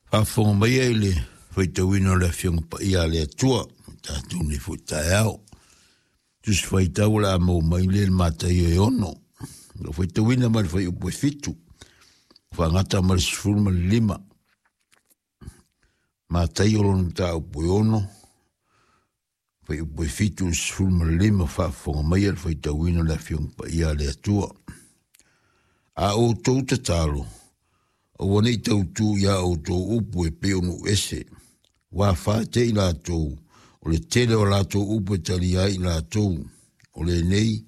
Faafofoga maia i le faitauina o le Afioga Paia a le Atua, o tatou nei foi taeao. Tusi faitau o le a maua mai le Mataio e 6. O faitauina mai le fuaiupu e 7, faagata ma le 15. Mataio lona mataupu e 6, fuaiupu e 7 i le 15, faafofoga maia le faitauina o le Afioga Paia a le Atua. A outou tatalo, aua ne i tautū iā outou upu e pei o nuu ese, ua fā te i latou, o le tele o latou upu e talia ai i latou. O lenei,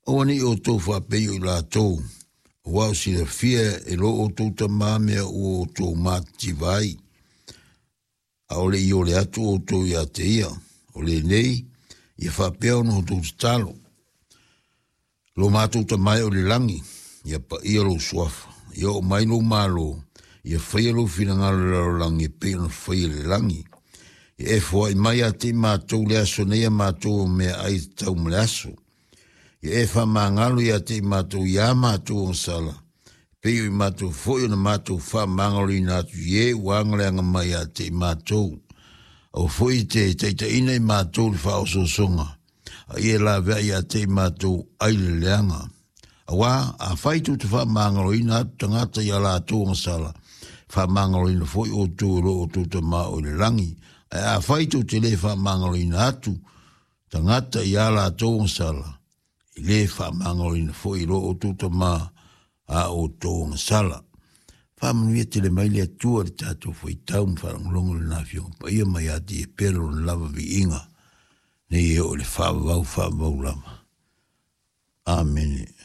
aua ne i outou faapei o i latou, auā o silafia e lo outou Tamā mea ua outou matitiva ai, a o le i ole atu outou iā te ia. O lenei, ia faapea ona outou tatalo. Lo matou Tamā e o i le lagi, ia paia lou suafa, ia oo mai lou Malo, ia faia lou finagalo i le lalolagi e pei ona faia i le lagi. Ia e foai mai ia te i matou le aso nei a matou o meaai e tatau ma le aso. Ia e faamagalo ia te i matou iā matou agasala, e pei o i matou foi ona matou faamagaloina atu i e ua agaleaga mai ia te i matou. Aua foi e te taitaiina i matou i le faaosoosoga, a ia laveai ia te i matou ai le leaga. Auā, afai tou te faamagaloina atu tagata i a latou agasala, faamagaloina foi outou e lo outou Tamā o i le lagi. Ae afai tou te lē faamagaloina atu tagata i a latou agasala, e lē faamagaloina foi e lo outou Tamā a outou agasala. Faamanuia tele mai le Atua i le tatou faitau ma faalogologo i Lona Afioga Paia mai ia te ia pea Lona lava viiga, nei e oo i le faavavau faavavau lava. Amene.